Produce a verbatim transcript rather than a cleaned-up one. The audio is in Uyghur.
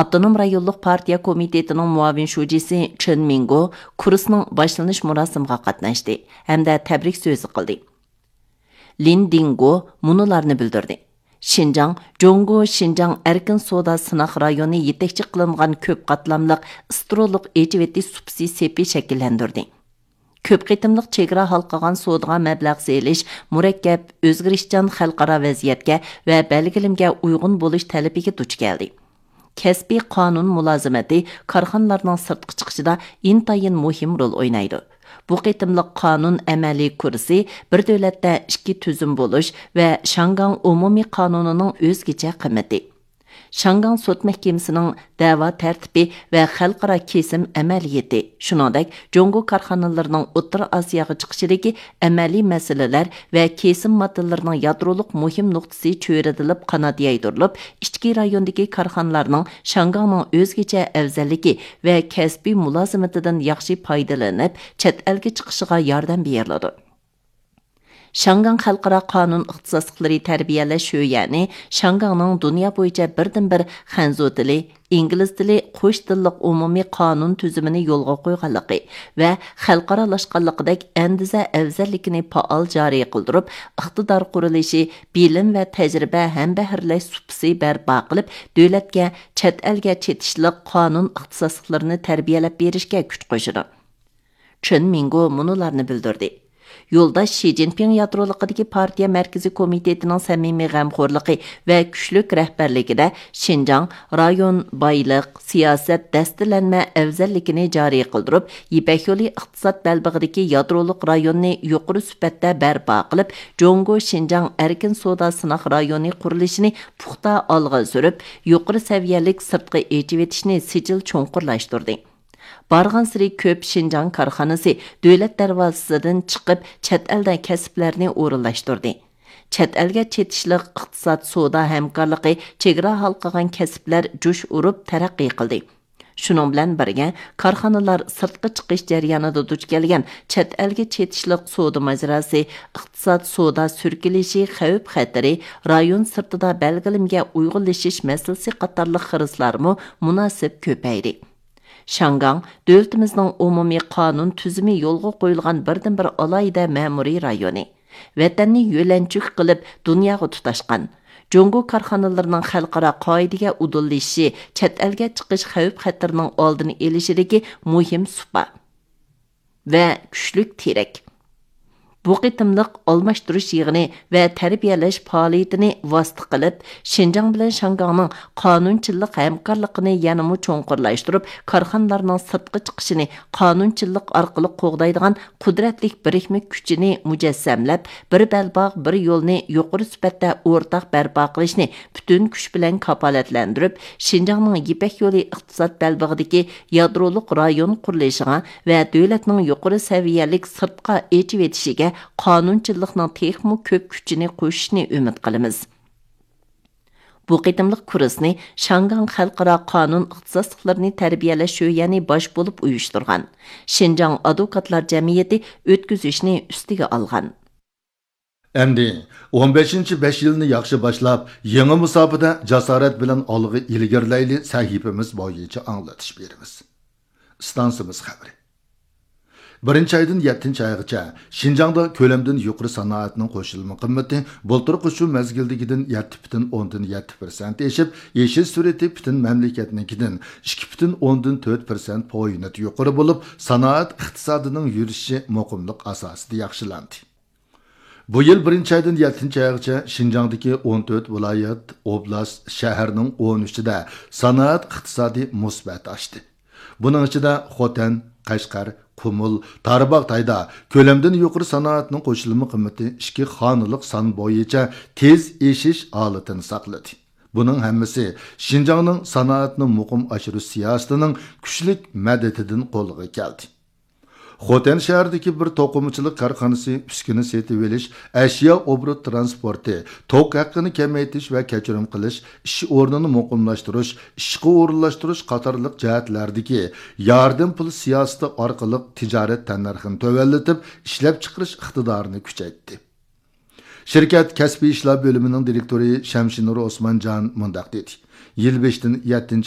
ئاپتونوم رايونلۇق پارتىيە كومىتېتىنىڭ مۇئاۋىن شۇجىسى چېن مىڭگو كۇرسنىڭ باشلىنىش مۇراسىمىغا قاتناشتى ھەمدە تەبرىك سۆزى قىلدى. لىن دىڭگو مۇنۇلارنى بىلدۈردى: شىنجاڭ، جۇڭگو شىنجاڭ ئەركىن سودا سىناق رايونى يېتەكچى قىلىنغان كۆپ قاتلاملىق ئىسترولۇق ئېچىۋېتىش سۇپىسى سېپى شەكىللەندۈردى. كۆپ قېتىملىق چېگرا ھالقىغان سودىغا مەبلەغ سېلىش مۇرەككەپ، ئۆزگىرىشچان خەلقئارا ۋەزىيەتكە ۋە بەلگىلىمىگە ئۇيغۇن بولۇش تەلىپىگە دۇچ كەلدى. كەسپىي قانۇن مۇلازىمىتى كارخانىلارنىڭ سىرتقا چىقىشىدا ئىنتايىن مۇھىم رول ئوينايدۇ. بۇ قېتىملىق قانۇن ئەمەلىي كۇرسى بىر دۆلەتتە ئىككى تۈزۈم بولۇش ۋە شياڭگاڭ ئومۇمىي قانۇنىنىڭ ئۆزگىچە قىممىتى، شياڭگاڭ سوت مەھكىمىسىنىڭ دەۋا تەرتىپى ۋە خەلقئارا كېسىم ئەمەلىيىتى، شۇنىڭدەك جۇڭگو كارخانىلىرىنىڭ ئوتتۇرا ئاسىياغا چىقىشىدىكى ئەمەلىي مەسىلىلەر ۋە كېسىم ماددىلىرىنىڭ يادرولۇق مۇھىم نۇقتىسى چۆرىدىلىپ قانات يايدۇرۇلۇپ، ئىچكى رايوندىكى كارخانىلارنىڭ شياڭگاڭنىڭ ئۆزگىچە ئەۋزەللىكى ۋە كەسپىي مۇلازىمىتىدىن ياخشى پايدىلىنىپ، چەت ئەلگە چىقىشىغا ياردەم بېرىلىدۇ. شياڭگاڭ خەلقئارا قانۇن ئىختىساسلىقلىرى تەربىيەلەش شۆيەنى شياڭگاڭنىڭ دۇنيا بويىچە بىردىنبىر خەنزۇ تىلى، ئىنگلىز تىلى قوش تىللىق ئومۇمىي قانۇن تۈزۈمىنى يولغا قويغانلىقى ۋە خەلقئارالاشقانلىقىدەك ئەندىزە ئەۋزەللىكىنى پائال جارى قىلدۇرۇپ، ئىقتىدار قۇرۇلۇشى، بىلىم ۋە تەجرىبە ھەمبەھىرلەش سۇپىسى بەرپا قىلىپ، دۆلەتكە، چەت ئەلگە چېتىشلىق قانۇن ئىختىساسلىقلىرىنى تەربىيەلەپ بېرىشكە كۈچ قوشىدۇ. چېن مىڭگو مۇنۇلارنى بىلدۈردى: يولداش شى جىنپىڭ يادرولۇقىدىكى پارتىيە مەركىزىي كومىتېتىنىڭ سەمىمىي غەمخورلۇقى ۋە كۈچلۈك رەھبەرلىكىدە شىنجاڭ رايون بايلىق، سىياسەت، دەستىلەنمە ئەۋزەللىكىنى جارى قىلدۇرۇپ، يىپەك يولى ئىقتىساد بەلبېغىدىكى يادرولۇق رايوننى يۇقىرى سۈپەتتە بەرپا قىلىپ، جۇڭگو شىنجاڭ ئەركىن سودا سىناق رايونى قۇرۇلۇشىنى پۇختا ئالغا سۈرۈپ، يۇقىرى سەۋىيەلىك سىرتقا ئېچىۋېتىشنى سىجىل چوڭقۇرلاشتۇردى. بارغانسېرى كۆپ شىنجاڭ كارخانىسى دۆلەت دەرۋازىسىدىن چىقىپ، چەت ئەلدە كەسىپلەرنى ئورۇنلاشتۇردى. چەت ئەلگە چېتىشلىق ئىقتىساد، سودا ھەمكارلىقى، چېگرا ھالقىغان كەسىپلەر جۇش ئۇرۇپ تەرەققىي قىلدى. شۇنىڭ بىلەن بىرگە، كارخانىلار سىرتقا چىقىش جەريانىدا دۇچ كەلگەن چەت ئەلگە چېتىشلىق سودا ماجىراسى، ئىقتىساد، سودا سۈركىلىشى خەۋپ-خەتىرى، رايون سىرتىدا بەلگىلىمىگە ئۇيغۇنلىشىش مەسىلىسى قاتارلىق خىرىسلارمۇ مۇناسىپ كۆپەيدى. شياڭگاڭ دۆلىتىمىزنىڭ ئومۇمىي قانۇن تۈزۈمى يولغا قويۇلغان بىردىنبىر ئالاھىدە مەمۇرىي رايونى. ۋەتەننى يۆلەنچۈك قىلىپ دۇنياغا تۇتاشقان، جۇڭگو كارخانىلىرىنىڭ خەلقئارا قائىدىگە ئۇدۇللىشىشى چەت ئەلگە چىقىش خەۋپ-خەتىرىنىڭ ئالدىنى ئېلىشىدىكى مۇھىم سۇپا ۋە كۈچلۈك تىرەك. بۇ قېتىملىق ئالماشتۇرۇش يىغىنى ۋە تەربىيەلەش پائالىيىتىنى ۋاسىتە قىلىپ، شىنجاڭ بىلەن شياڭگاڭنىڭ قانۇنچىلىق ھەمكارلىقىنى يەنىمۇ چوڭقۇرلاشتۇرۇپ، كارخانىلارنىڭ سىرتقا چىقىشىنى قانۇنچىلىق ئارقىلىق قوغدايدىغان قۇدرەتلىك بىرىكمە كۈچىنى مۇجەسسەملەپ، بىر بەلباغ، بىر يولنى يۇقىرى سۈپەتتە ئورتاق بەرپا قىلىشنى پۈتۈن كۈچ بىلەن كاپالەتلەندۈرۈپ، شىنجاڭنىڭ يىپەك يولى ئىقتىساد بەلبېغىدىكى يادرولۇق رايون قۇرۇلۇشىغا ۋە دۆلەتنىڭ يۇقىرى سەۋىيەلىك سىرتقا ئېچىۋېتىشىگە قانۇنچىلىقنىڭ تېخىمۇ كۆپ كۈچىنى قوشۇشىنى ئۈمىد قىلىمىز. بۇ قېتىملىق كۇرسنى شياڭگاڭ خەلقئارا قانۇن ئىختىساسلىقلىرىنى تەربىيەلەش شۆيەنى باش بولۇپ ئۇيۇشتۇرغان شىنجاڭ ئادۋوكاتلار جەمئىيىتى ئۆتكۈزۈشنى ئۈستىگە ئالغان. ئەمدى ئون بەشىنچى بەش يىلنى ياخشى باشلاپ، يېڭى مۇساپىدە جاسارەت بىلەن ئالغا ئىلگىرىلەيلى سەھىپىمىز بويىچە ئاڭلىتىش بېرىمىز. ئىستانسىمىز خەۋىرى. بىرىنچى ئايدىن يەتتىنچى ئايغىچە شىنجاڭدا كۆلەمدىن يۇقىرى سانائەتنىڭ قوشۇلما قىممىتى بۇلتۇرقى شۇ مەزگىلدىكىدىن يەتتە پۈتۈن ئوندىن يەتتە پىرسەنت ئېشىپ، ئېشىش سۈرئىتى پۈتۈن مەملىكەتنىڭكىدىن ئىككى پۈتۈن ئوندىن تۆت پىرسەنت پوينت يۇقىرى بولۇپ، سانائەت ئىقتىسادىنىڭ يۈرۈشى مۇقىملىق ئاساسىدا ياخشىلاندى. بۇ يىل بىرىنچى ئايدىن يەتتىنچى ئايغىچە شىنجاڭدىكى ئون تۆت ۋىلايەت، ئوبلاست، شەھەرنىڭ ئون ئۈچىدە سانائەت ئىقتىسادى مۇسبەت ئاشتى. بۇنىڭ ئىچىدە خوتەن، قەشقەر، قۇمۇل، تارباغاتايدا كۆلەمدىن يۇقىرى سانائەتنىڭ قوشۇلما قىممىتى ئىككى خانىلىق سان بويىچە تېز ئېشىش ھالىتىنى ساقلىدى. بۇنىڭ ھەممىسى شىنجاڭنىڭ سانائەتنى مۇقىم ئاشۇرۇش سىياسىتىنىڭ كۈچلۈك مەدىتىدىن قولغا كەلدى. خوتەن شەھىرىدىكى بىر توقۇمىچىلىق كارخانىسى ئۈسكۈنە سېتىۋېلىش، ئەشيا ئوبوروت ترانسپورتى، توك ھەققىنى كېمەيتىش ۋە كەچۈرۈم قىلىش، ئىش ئورنىنى مۇقىملاشتۇرۇش، ئىشقا ئورۇنلاشتۇرۇش قاتارلىق جەھەتلەردىكى ياردەم پۇل سىياسىتى ئارقىلىق تىجارەت تەننەرخىنى تۆۋەنلىتىپ، ئىشلەپچىقىرىش ئىقتىدارىنى كۈچەيتتى. شىركەت كەسپىي ئىشلار بۆلۈمىنىڭ دىرېكتورى شەمشىنۇر ئوسمانجان مۇنداق دېدى: يىل بېشىدىن يەتتىنچى